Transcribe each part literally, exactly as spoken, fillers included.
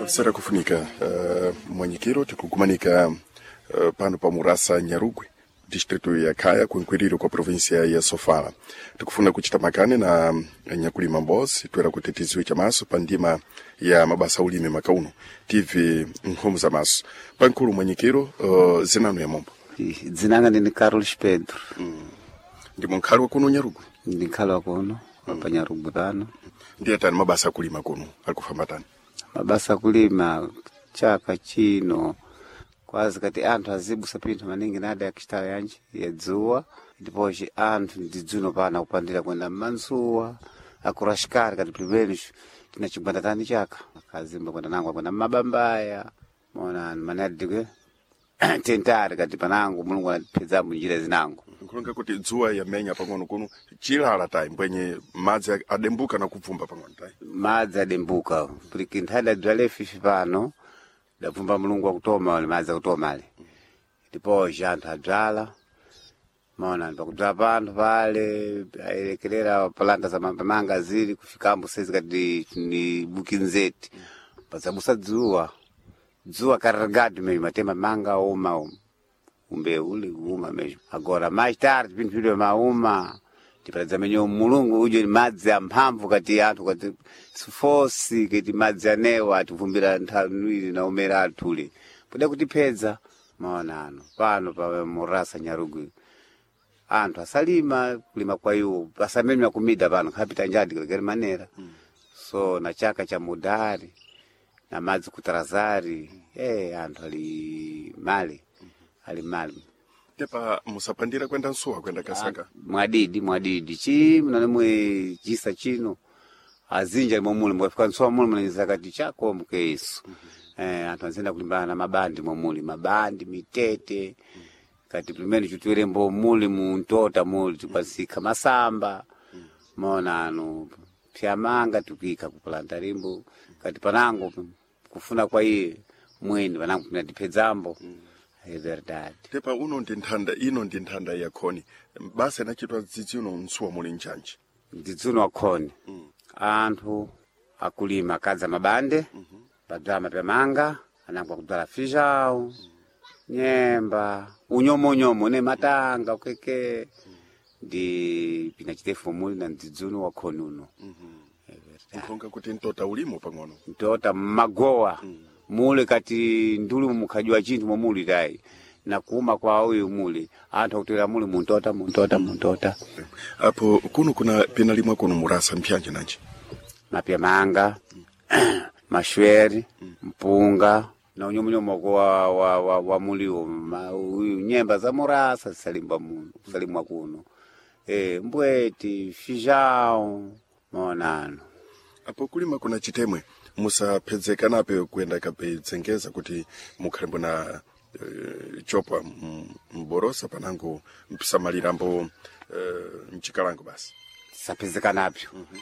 Sera kufunika uh, mwanyikiro tikukumanika uh, pano pa Murasa Nyarugwe distrito ya Kaya kunkwiriro kwa província ya Sofala. Tikufuna kuchita makane na nyakulima mbozi twera kuti tiziwe chamaso pa ndima ya mabasa ulimi makauno tive nkhomo za maso pankulu mwanyikiro uh, zinano ya mombo Dzinanga ndini Carlos Pedro. Ndimo nkhali wa kuno Nyarugwe. Ndi nkhali wa kuno pa Nyarugwe pano. Ndiye tani mabasa akulima kuno alikufamba tani? Mabasa akulima chaka chino kwazi kati anthu azibusa pinthu maningi nada yakicitala yanji ya dzuwa ndipoci anthu ndi dzuno pano akupandira kwenda mmansuwa akurashikari kati pilipenuco tina chigwanda tani chaka akazimba kwenda nango akwenda mmabambaya mona manadikwe tentari kati panango Mulungu anatipedzamo njira zinango. Nkulonga kuti dzuwa yamenya pang'ono kuno chilala tayi mbwenye madzi adembuka na kubvumba pang'ono tayi. Madzi adembuka puliki nthadi adzale fifi pano dabvumba Mulungu akutoma ale madzi akutoma ale ndipoci anthu adzala maona pakudzala panthu pale ayerekerera palanta za mapamanga zili kufikambo sezi kati ni bukinzeti pazabusa dzuwa dzuwa karagadi meyo matema manga uma umbe uli uma meyo agora mais tarde pinthu pidwe mauma tiparadza menyo Mulungu ujo ni madzi amphamvu kati anthu kati sifosi kati madzi anewa ativumbira nthanwiri na umera athule poda kutipedza maona ano pano pa Murasa Nyarugwe anthu asalima kulima kwa iwo asamemya kumida pano khapita njadi kali manera so na chaka cha mudari na madzi kutarazari eh anthu ali mali ali mali. Tepa musapandira kwenda nsuwa kwenda kasaka. Mwadidi mwadidi chi mnanemwe chisa chino azinja momuli mwafika nsuwa muli mnanyeza kati chako mkeisu mm -hmm. Eh, anthu anzenda kulimbana na mabandi momuli mabandi mitete mm -hmm. Kati pimene chutwerembo muli muntota muli tikwasika masamba mm -hmm. Mona anu pyamanga tukika kupalanta limbo kati panango kufuna kwa iye mweni panango pinatipedzambo mm -hmm. É verdade. Tepa uno ndi nthanda ino ndi nthanda ya khoni basa inachitwa dzidzi uno nsuwa muli nchanji ndidzuno akhoni mm. Anthu akulima akadza mabande mm -hmm. Padzala mapyamanga anango akudzala fijawu mm. Nyemba unyomonyomo ne matanga ukeke mm. Ndi pinachitefu muli na ndidzuno wakhoni uno mm -hmm. Nkhonga kuti mtota ulimo pang'ono mtota mmagowa mm. Mule kati ndulu mukhajwa chinthu momuli tayi na kuuma kwa uyu muli anthu akutera muli muntota muntota muntota. Apo kuno kuna pinalimwa kuno Murasa mphyanje nanji mapya manga mm. Mashweri mm. Mpunga na unyomunyomo wa, wa, wa, wa muliwo ma, uyu nyemba za Murasa zisalimba muno kusalimwa kuno e, mbweti fijao maonano. Apo kulima kuna chitemwe musapedzekanape kuenda kapedzengeza kuti mukhalembo na e, chopwa mborosa panango mpisamalirambo e, mchikalango basi tisapedzekanapyo mm -hmm.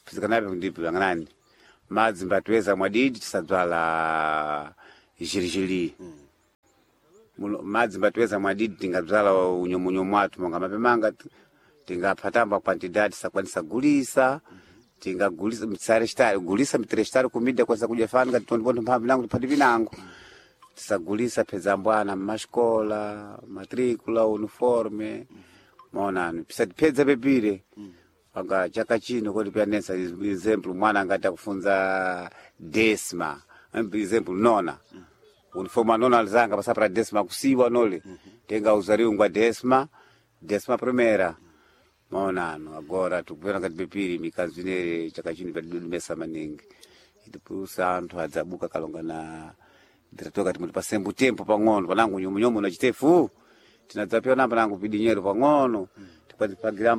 Pezekanapo ndipo ang'anani madzi mbatiweza mwadidi tisadzala jirijiri mm. Madzi mbatiweza mwadidi tingadzala unyomunyomu athu monga mapemanga tingaphatamba kwantidadi tisakwanisa gulisa mm -hmm. Tingagulisa mitsarestari gulisa mitrestari kumida kwasa kudya fani kati tondiponto mphamvu nangu tiphati pinango tisagulisa phedza mbwana mmasikola matricula uniforme maonano pisatiphedza pepire panga chaka chino kodi pianesa exemplo mwana angati akufunza desma exemplo nona uniforme anona alizanga pasapra desma kusiwa nole tenga uzariu ngwa desma desma primera maonano agora tikupena kati pepiri mikanzu inere chaka chino padidodumesa maningi itipusa anthu adzabuka kalonga na diretor kati muti pasembu tempo pang'ono panango nyomunyomu na chitefu tinadzapewa namba nango pidinyero pang'ono tikwatipagira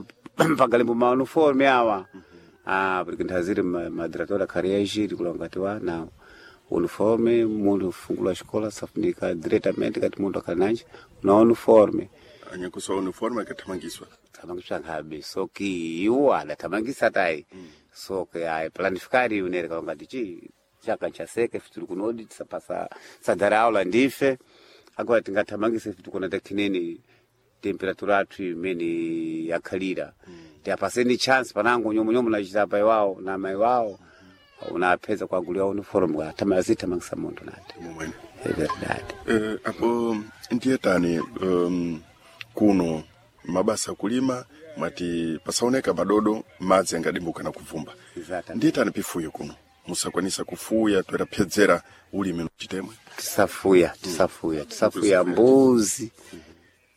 pagalimbo mauniforme awa mm -hmm. Ah, porque nthaziri madiretor akhali yaixiri kulonga kati wa na uniforme munthu fungula xikola safunika diretamente kati munthu akhali nanji na uniforme anyakusa uniforme akathamangiswa thamangisa nkhabe soki iwo adathamangisa tayi mm. Soke ayi planifikari unere kalonga ti chaka nchaseke ife tuli kunodi tisapasa sadara aula ndife agora tingathamangisa ife tikuna takhineni temperatura athu imene yakhalira mm. Tiapaseni chance panango nyomunyomu nachita apai wawo na mai wawo Unapeza kwaguliwa uniform atama azithamangisa munthu nati. Momwene. É verdade. Eh, apo ndiye tani um, kuno mabasa kulima mwati pasaoneka madodo, madzi angadimbuka na kuvumba. Exatamente. Ndiye tani pifuyo kuno musakwanisa kufuya toerapyedzera ulimi chitemwe? Tisafuya, tisafuya, tisafuya mbuzi,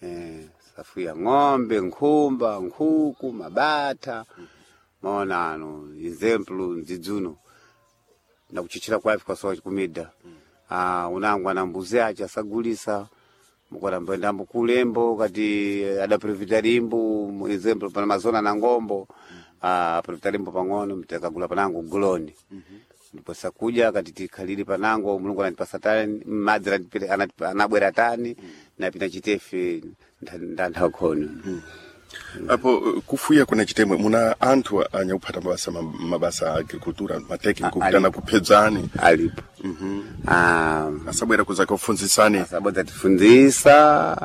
eh, tisafuya ng'ombe, nkhumba, nkhuku, mabata. Maona ano exemplo ndzidzuno nakuchichira kwafi kwasowa kumida. Ah, unangwa na mbuzi ache asagulisa mukaramboendambo kulembo kati adaprofita limbo mu exemplo pana mazona na ngombo. Ah, profita limbo pang'ono mtekagula panango guloni, ndipo sakuja kati tikhalire panango Mulungu anatipasa tani madzi anatipira- anatipa- anabwera tani napita chitefe ndanthaukhono. Apo eh, kufuya kuna chitemwe muna anthu anyakuphata mabasa ma- mabasa a agricultura matekniko A- kutana alipo. kuphedzani? Alipo. Ah, asabwera kuza kufunzisani? Asabodza tifunzisa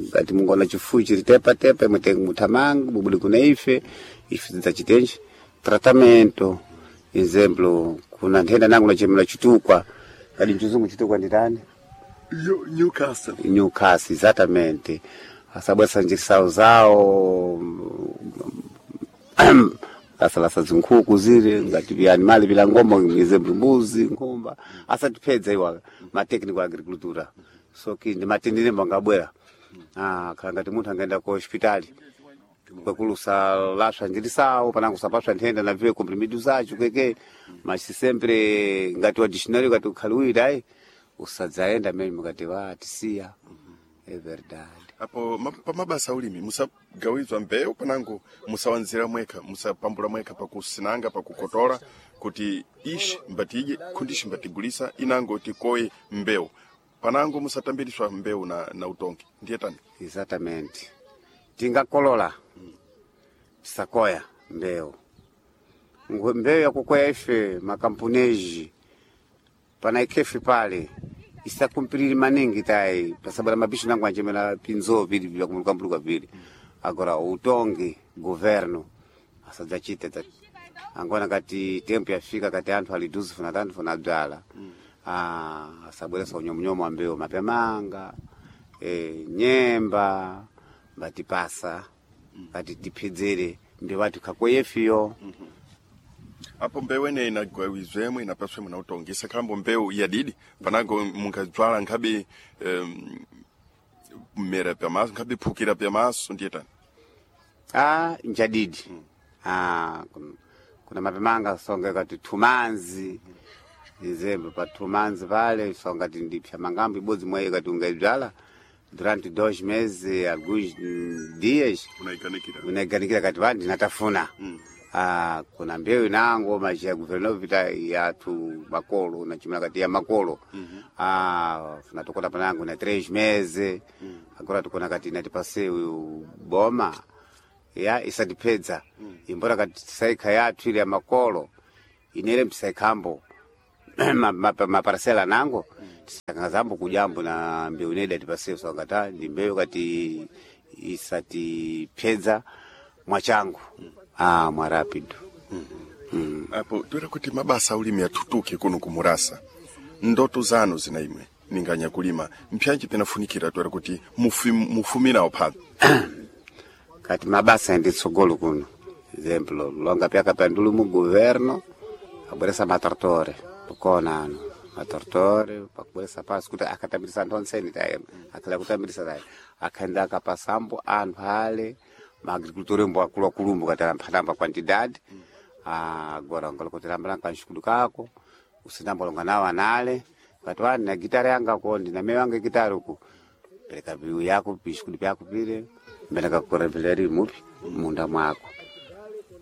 ngati mungona chifuyo chiri tepatepa imwe muthamanga bubuli kuna ife ife tidzachitenji tratamento. Exemplo kuna nthenda nangu nachemera chitukwa kadi mchizungu chitukwa nditani? Newcastle. Newcastle, exatamente. Asabwesa njisawo zawo asalasa zinkhuku zile ngati vya animali vila ngombo, exemplo mbuzi, nkhumba, asatipedza iwa matekniko a agricultura. So ki ndi matenderembo angabwera. Ah, khala ngati munthu angaenda ku hospitali kwekulusa laswa njirisawo panango sapaswa nthenda na viwe comprimido zacho kweke mas sempre ngati wa dictionary ngati ukhaliwira ayi usadzaenda mene mukati wa tisiya. É verdade. Apo ma- pa mabasa ulimi musagawizwa mbewu panango musawanzira mwekha, musapambula mwekha pakusinanga pakukotora kuti ishi mbatidye khundishi mbatigulisa inango tikoye mbewu panango musatambiriswa mbewu na, na utongi ndiye tani? Exatamente, tingakolola tisakoya mbewu. Ngwe- mbewu yakukoya ife makampuneji pana ikhefe pale isakumpiriri maningi tayi pasabala mabishi nangu anjemera pinzo vili vyakumulukamuluka vili. Agora utongi governo asadzachite dza angona kati tempo yafika kati anthu ali duzi funa tanthu funa bzala. Ah, asabweresa unyomunyomu wa mbewu mapyamanga, eh, nyemba mbatipasa kati tiphedzere mbewu ati khakoyefiyo. Apo mbewu eneyi inagawizwemwe inapaswemwe na utongi isakhalambo mbewu yadidi panango munkadzwala nkhabe um, mmera pyamaso nkhabe phukira pyamaso ndiye tani? Ah, njadidi. Ah, kun- kuna mapemanga songa kati tumanzi izembe pa tumanzi pale songa ti ndipya mangambo ibodzi mwayi kati ungaidzala durante dois meses, alguns mm, dias Unaiganikira. Unaiganikira kati va ndinatafuna. Ah, kuna mbewu inango machi governo vita yathu makolo nachimira kati ya makolo. Ah, funa tukona panango na três meses. Agora tukona kati inatipase uyu boma ya isatipedza imbora kati tisaikha yathu ile ya makolo inere mtisaikhambo maparasela nango tisakangazambo kujambo na mbeu ineda tipase sangata ndi mbewu kati isatipedza mwachangu, ah, mwa rapido. Apo toera kuti mabasa aulimi atutuke kuno kumurasa, ndoto zanu zina imwe ninganya kulima mpyanji pinafunikira toera kuti mufi- mufumirawo phapo? Kati mabasa ndi tsogolo kuno exemplo longa pyaka pandulu mu governo abweresa matortore pokona ano matortore pakubweresa pasi kuti akatambirisa anthu onseni taye akhala kutambirisa taye akhaenda akapasambo anthu ale maagriculture mbo akuluakulumbo kati amphatamba quantidade. Agora ngalokotelambala kanxikulu kako usindambolonga nawo anale kati wani na gitara yanga ko ndina meyo yanga gitara uku pereka viu yako bishikudu vyako vile mbele kakureveleri mupi munda mwako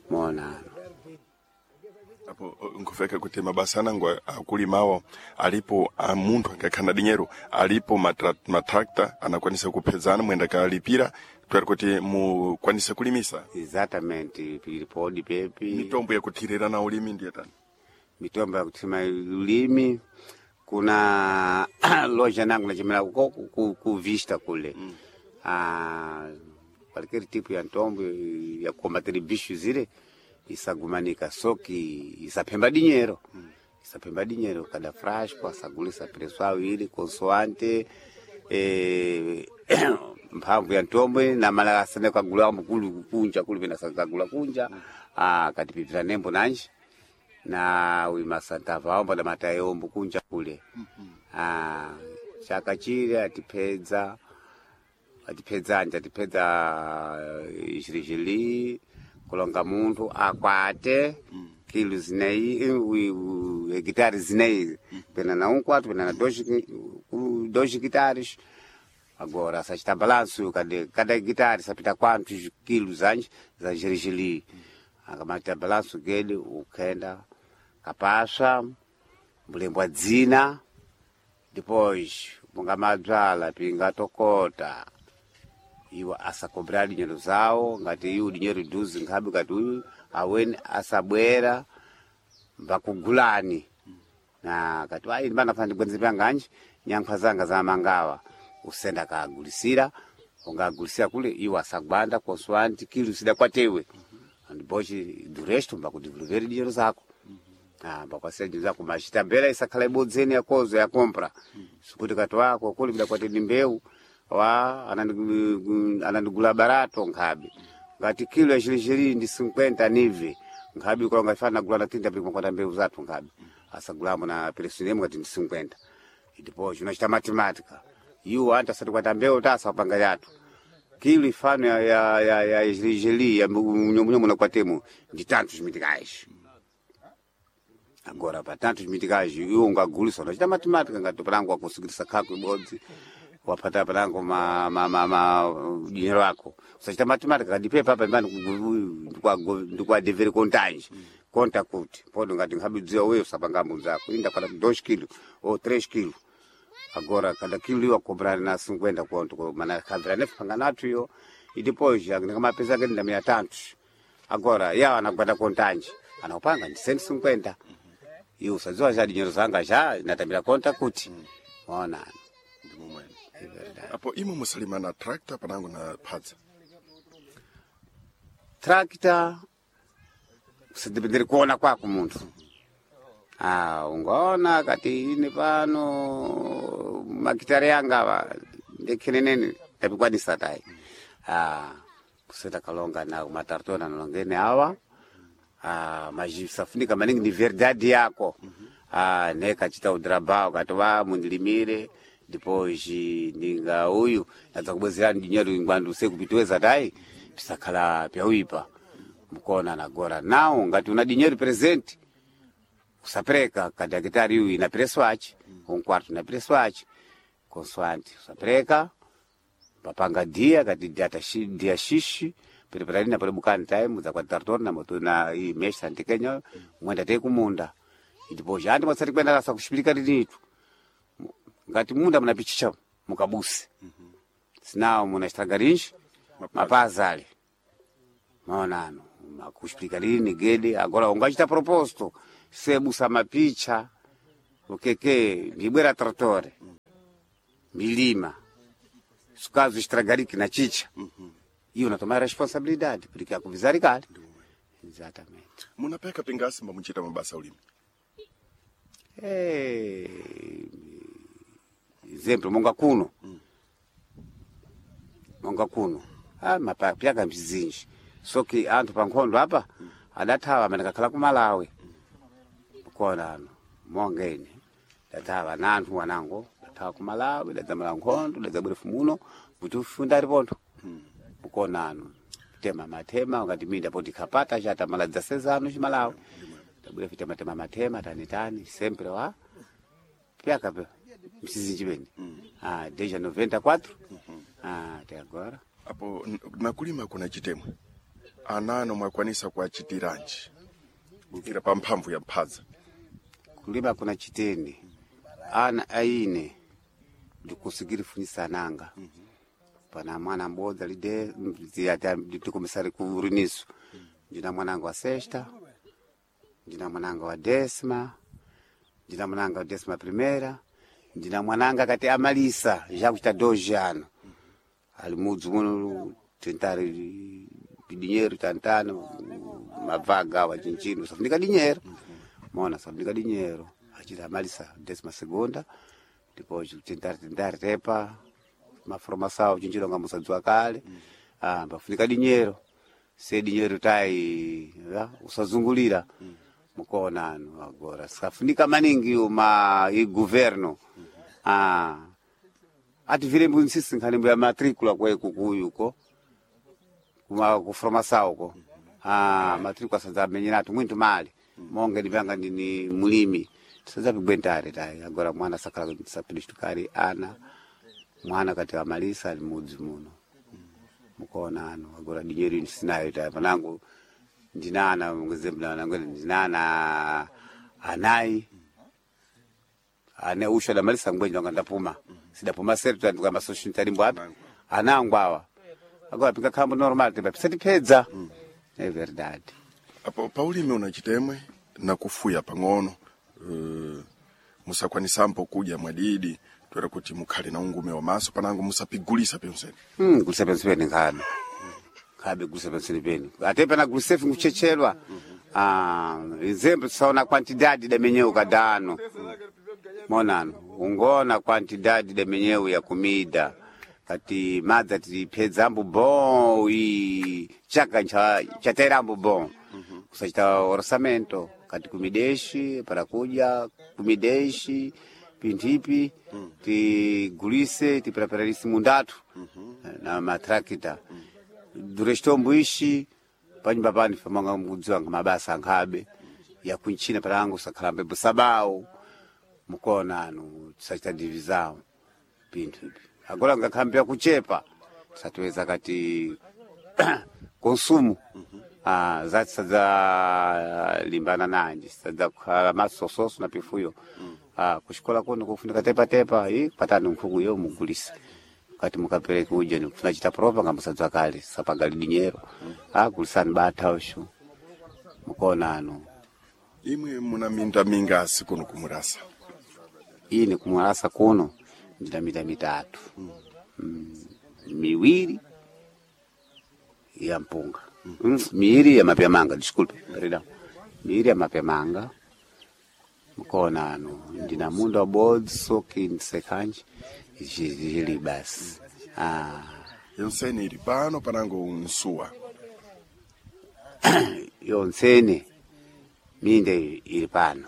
mona. Apo eh, nkufeka kuti mabasa anango akulimawo alipo a munthu angakhana dinyero alipo matra- matrakta anakwanisa kuphedzana mwenda kalipira toera kuti mukwanise kulimisa. Exatamente, pilipodi pepi. Mitombo yakuthirira na ulimi ndiye tani? Mitombo yakuthima ulimi kuna loja nangu nachimela uko ku, ku, ku vista kule mm. Ah, qualquer tipo ya ntombo ya combater bicho zile Isagumanika soki isaphemba dinyero isaphemba dinyero kada frasco asagulisa preço awiri consoante eh, mphamvu ya ntombwe na mala asene kagula mkulu kunja kuli pena sakagula kunja ah katipipira nembo nanji na uima santava ombo da matayo ombo kunja kule ah chaka chile atipedza atipedza anje atipedza ishirijili kulonga munthu akwate kilo zineyi hekitari zineyi pena na um quarto pena na dois dois hectares. Agora sachita balanço cada cada hectare sapita quantos quilos antes za gerigeli akamata balanço gele ukenda kapasha mbulembwa dzina depois mungamadzala pingatokota iwo asakobra dinyero zawo ngati iwo dinyero duzi nkhabe ngati uyu aweni asabwera mbakugulani na kati ayi ndimana ndigwenze panganji nyankha zanga za mangawa usenda kagulisira ungagulisira kule iwo asagwanda consoante kilo sida kwatewe andibochi do resto mbakudevolver dinheiro zako ah mbakwasira dinheiro zako mas tabela isakhala ibodzeni yakozo yakompra sikuti kati wako kuli kuda kwateni mbeu wa anandigu- anandigula barato nkhabe ngati kilo ya chilichili ndi cinquenta nive nkhabe kulonga ifana nagula na trinta pili kwata mbeu zathu nkhabe asagulamo na presunemo ngati ndi cinquenta depois unachita matemática iwo antu asati kwata mbeu tasa kupanga yathu kilo ifano ya ya ya ya ya munyomunyomu na kwatemo ndi tantos mitikais agora pa tantos mitikais iwo ungagulisa unachita matemática ngati palango akusigirisa khako ibodzi wapata palango ma ma ma, ma dinheiro ako usachita matemática kadipe papa imbani ndikwadevere kontanji konta kuti podo ngati nkhabidziwa wewe usapanga zako inda kwata dois kilo ou três kilo agora cada quilo iwo cobrar na cinquenta conto ko- mana khavira nefanga nathu iyo e depois ndikamapesa ke ndamira tantos agora yawo anagwada kontanji anakupanga ndi cento e cinquenta iwo usadziwa já dinheiro zanga já natamira conta kuti ona Ndi momwene apo imwe musalima na tractor panango na phadza tractor usadependere kuona kwako munthu ah ungaona kati ine pano makitari yanga ava ndekhenenene ndapikwanisa tayi ah kuseta kalonga na matartona nalongene awa ah majisafunika maningi ni verdade yako ah nekachita udrabao kati wa mundilimire depois ndinga uyu nadza kubwezerani dinheiro ingwandu sekupitweza tayi pisakhala pyauipa mukona nagora nawo ngati una dinheiro presente usapereka kati hekitari iyu ina preço achi um quarto ina preço achi consoante usapereka papanga dia kati dia taxi dia xixi pereperani na pale time za kwa tartona na moto na i mesha antikenya mwenda te kumunda ndipo jandi mwasati kwenda rasa kushipilika linitu ngati munda munapichicha mukabusi sinawo munachitagarinji mapazale maonano makushipilika lini gede agora ungachita proposto sebusa mapicha ukeke ndibwera tratore milima sukazo estragariki na chicha iyo unatoma responsabilidade porque akuvizari kale exatamente munapeka pingasi mbamuchita mabasa ulimi Eh, exemplo monga kuno monga kuno ah, mapyaka mzinji soki anthu pa nkhondo apa adathawa amene kakhala ku Malawi kona ano monga ine dathawa na anthu wanango dathawa ku Malawi dadzamala nkhondo dadzabwera fumuno kuti ufunda ali pontho mukona ano tema matema ngati minda poti khapata chatamala dzasezano chimalawi tabwera fita matema matema tani tani sempre wa pyaka pe msizinji pene ah desde noventa e quatro ah até agora. Apo n- nakulima kuna chitemwe anano mwakwanisa kuachitiranji kukira pa mphamvu ya mphadza Kulima kuna chitende ana aine ndikusigiri funisa ananga pana mwana mbodza lide ndikumisari kuriniso ndina mwananga wa sexta, ndina mwananga wa décima, ndina mwananga wa décima primeira, ndina mwananga kati amalisa já kuchita doze ano ali mudzi muno tentare dinheiro tantano mavaga wa chinchino safunika dinyero mona safunika dinyero achita amalisa décima segunda depois tentar tentar tepa maformação chinchino nga musadziwa kale ah bafunika dinyero se dinyero tai ya, usazungulira mukona anu agora safunika maningi uma i governo ah ati vile mbunsisi nkhani ya matricula kwe kukuyuko kuma kuformação ko ah matricula sanza menyeratu mwintu mali monge ndipanga ndini mulimi sanza pigwentare tai agora mwana sakala sapidishtukari ana mwana kati amalisa ali mudzi muno mukona anu agora dinyeri ndisinayo tai panangu ndinana ngezembla ndinana anayi ane usho adamalisa ngwenje wanga ndapuma sidapuma setu tandikamba soshintalimbo api anangu awa agora pikakhambo normal tipa pisatipedza é verdade Apo paulimi unachitemwe na kufuya pang'ono uh, musakwanisampo kudya mwadidi twera kuti mukhale na ungume wa maso panango musapigulisa pyonsene Hmm, gulisa pensi peni nkhabe nkhabe gulisa pensini peni ate pana gulisefu nkuchechelwa ah nzembe tisaona quantidade damenyeu kadano monano ungona quantidade damenyeu ya kumida kati madza tipedzambo bon i chaka ncha chaterambo bon kusachita orçamento kati kumideshi para kudya kumideshi pinthipi tigulise tiprepararisi mundatu na matrakita durestombo ishi panyumba pani famanga mukudziwa nga mabasa ankhabe yakunchina palangu sakhalambe busabawu mukona anu tisachita divisão pinthu ipi agora ngakhambi kuchepa tisatiweza kati consumo ah, zati sadza limbana nanji sadza kukhala masososo na pifuyo ah, kuxikola kuno kufunika tepatepa i patani nkhuku yo mugulisa kati mukapereke uja nikufuna chita propa nga musadzwa kale sapagali dinyero ah, gulisani batha ushu mukona anu imwe muna minda mingasi kuno kumurasa ine kumwalasa kuno ndina minda mitatu mm. miwiri ya mpunga mm. miiri ya mapyamanga desculpe perdão miiri ya mapyamanga mukona anu ndina munda wabodzi soki ndisekhanji zili basi ah. yonsene ili pano panango nsuwa yonsene minda ili pano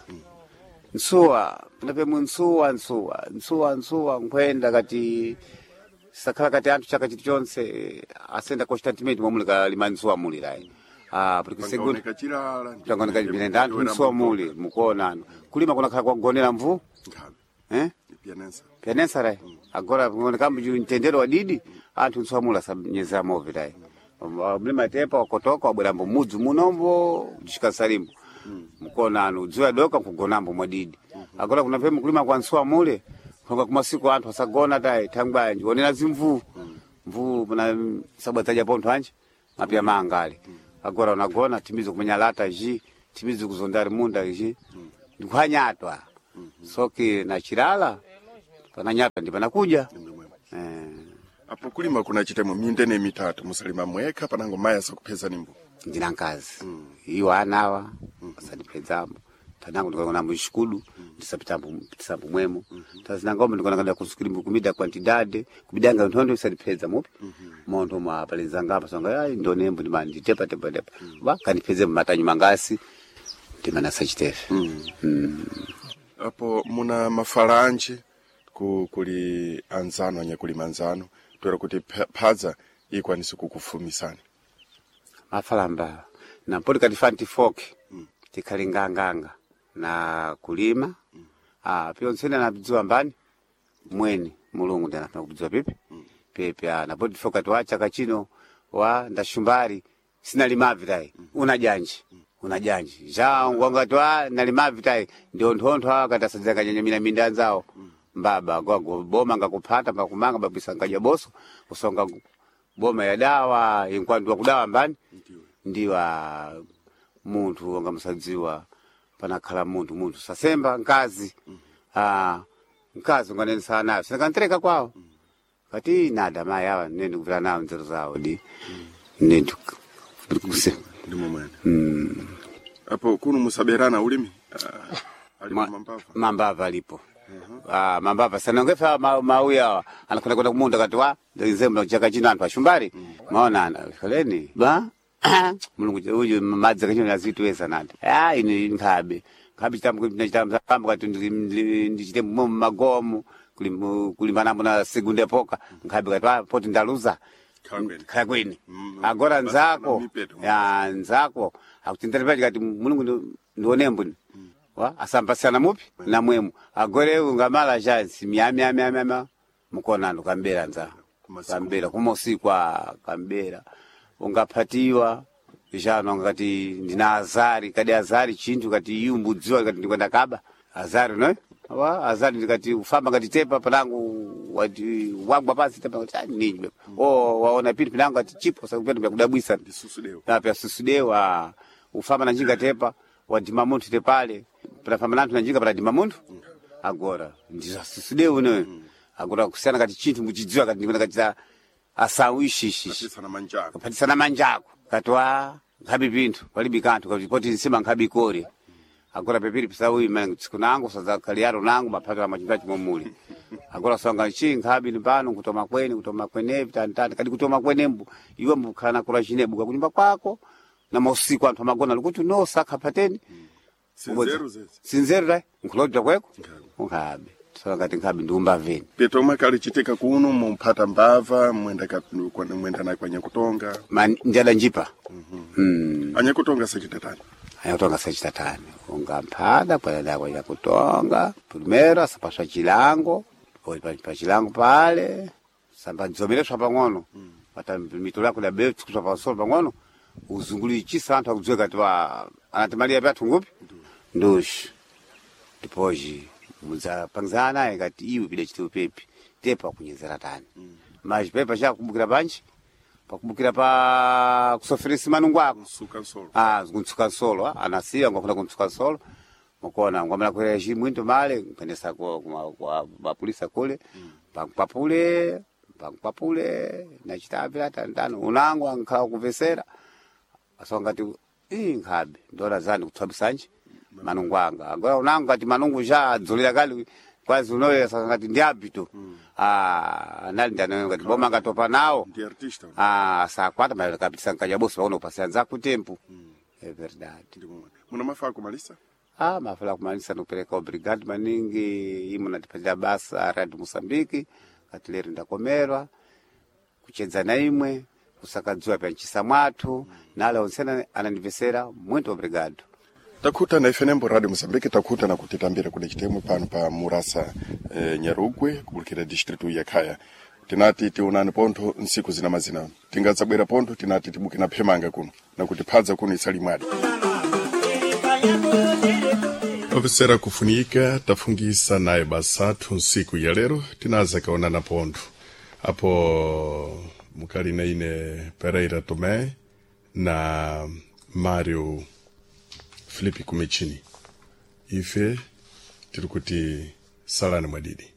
nsuwa napemwe nsuwa nsuwa nsuwa nsuwa nkhwenda kati sakhala kati anthu chaka chiti chonse asenda constantemente momwe lima nsuwa muli layi ah porque segundo pangaoneka chilala ndi- tangoneka chipinenda anthu nsuwa muli mukuona anu kulima kunakhala kwagonera mvu Nkhabe, eh pianensa penensa rai agora kuoneka mtendero wa didi anthu nsuwa asanyezera move tai mlima tepa wakotoka wabwerambo mudzi munombo kuchikasalimbo mukona anu dzuwa doka nkugonambo mwadidi agora kuna pemu kulima kwa nsuwa mule konga kumasiku anthu asagona tai thangwa ndionera zimvuu mvuu muna sabwataja pontho anje mapya manga ale agora unagona timizi kumenya lata ji timizi kuzondari munda ji ndikuhanyatwa soki na chilala pananyatwa ndi panakuja eh. Apo kulima kuna chitemwe mindene mitatu musalima mwekha panango mayi asakupeza nimbo ndina nkazi iwo anawa asandipedzambo tanangu ndikaona mxikudu ndisapitambo tisambo mwemo tazinangombe ndikaona kusukilimbo kumida quantidade kumidanga nthondo isandipedza mupi montho mwa palenzanga apa songa ai ndonembo ndima nditepa tepa tepa ba kandipedze matanyu mangasi ndimana sachitefe mm. Apo muna mafalanji ku, kuli anzano anyakulima anzano toera kuti pha- phadza ikwanise kukufumisani mafalamba nampoti katifa ntifoke tikhali nganganga na kulima mm. ah, pyontsene anadziwa mbani mweni mulungu ndi anafuna kudziwa pipi mm. pipi ah, napoti tifoke kati wa chaka chino wa ndashumbari sinalimavi tayi mm. una janji mm. una janji ja ngwangati wa nalimavi tayi ndio nthontho awa kati asadzakanyanyamira minda anzawo mm. mbaba gwago boma ngakuphata mbakumanga babisa ngaja boso usonga boma ya dawa inkwandu kudawa mbani ndiwa munthu wanga musadziwa panakhala munthu munthu sasemba nkazi ah mkazi unganenesa nayo sinakantereka kwawo kati nada mayi awa nene ndikuvira nawo nzeru zawo di nene Ndimo mwene. Mm. Apo kuno musaberana ulimi? Ah, alipo Ma- mambava. Mambava alipo. Ah, mambava sanongefa ma, mauya anakwenda kwenda kumunda kati wa nzembe chaka chino anthu ashumbari maona ana koleni ba mulungu uyu madzi kachino azituweza nati ah ine nkhabe nkhabe chitambo chitambo kati ndichite mu magomo kulimbana na segunda epoka nkhabe kati ah poti ndaluza Khala kwene. khala kwene Mm, agora basi nzako na mipeto. ya nzako akutendera pachi kati mulungu ndi- ndionembo ni wa asambasana mupi na mwemu agore ungamala jansi myamyamyamyama mukonano kambera nza Kumasiku. kambera kumosikwa kambera ungaphatiwa jano ngati ndina azari kadi azari chinthu kati iyu mbudziwa kati ndikwenda kaba azari no wa azari ndikati ufamba ngati tepa panangu wati wagwa pasi tepa ngati ah, ninyi o waona pili pinangu ati chipo sakupenda kudabwisa Ndisusu deo. apya susudewa ufamba na njinga tepa wadima munthu tepale panafamba nanthu na njinga panadima munthu agora ndizasusudewa unoyo agora kusiyana kati chinthu muchidziwa kati ndikuona kati asawu ishishishi Patisana manjako. kapatisana manjako katwa nkhabi pinthu palibe kanthu kati poti nsima nkhabi ikore agora pepiri pisawi mana tsiku nangu sadzakaliyaro nangu maphato amachinda chimomuli agora songa chi nkhabi ni pano kutoma kweni kutoma kwenepi tantani kadi kutoma kwenembu iwe mbukhala kula chinebuka kunyumba kwako na mausiku anthu amagona likuti no sakha pateni Sinzeru zezi. sinzeru dai nkulodwa kweko Nkhabe. nkhabe songa ngati nkhabi ndiumba veni Petomwe kali chitika kuno mumphata mbava mwenda ka kwa- mwenda na kwa nyakutonga. Ma njala njipa mm. Anyakutonga sachitatani. Ayakutonga sechitatani ungamphada kwalada kwaja kutonga primero asapaswa chilango oi pa pa chilango pale samba nzomereswa pang'ono pata mitolo yako dabe kuswa pasolo pang'ono uzungulichisa anthu akudziwe kati wa anati malia pyathu ngupi ndushi ndipoji mudzapangizana naye kati iwe pida chitiwe pepi tepa kunyezera tani maji pepa chakumbukira panji pakumbukira pa kusoferesa manungu ako Nsuka nsolo. ah kuntsuka nsolo ah, anasiya ngwafuna kuntsuka nsolo mukona ngwamala kwera chimwinto male nkwendesa kwa kwa- kwa mapulisa kule pankwapule pankwapule nachitapira tantano unango ankhala kumvesera asongati ii nkhabe ndola zani kutswabisanji manungu anga agora unango kati manungu ja adzulira kali kwazi unoyo sangati ndi abito ah anali ndanayo ngati boma ngatopa nawo Ndi artista. Ah, sakwata mas kapitisa nkajaboso pakuno kupasiyanza kutempo é verdade Ndimo mwene. Muna mafaa kumalisa? ah mafala kumalisa nikupereka obrigado maningi imo natipatira basa radio moçambique kati lero ndakomerwa kuchedza na imwe kusakadziwa pya nchisa mwathu nale onsena anandipesera muito obrigado Takhuta na F N M Radio Mozambique takhuta na kutitambira kule chitemo pano pa Murasa eh, Nyarugwe kubulukira distritu ya Khaya. Tinati tionani pontho nsiku zina mazina. Tingadzabwera pontho tinati tibuke na phemanga kuno na kuti phadza kuno isali mwadi. Ofisera kufunika tafungisa naye basathu nsiku ya lero tinaza kaonana pontho. Apo mukali na ine Pereira Tomé na Mário Filipe Kumechini. Ife tiri kuti salani mwadidi.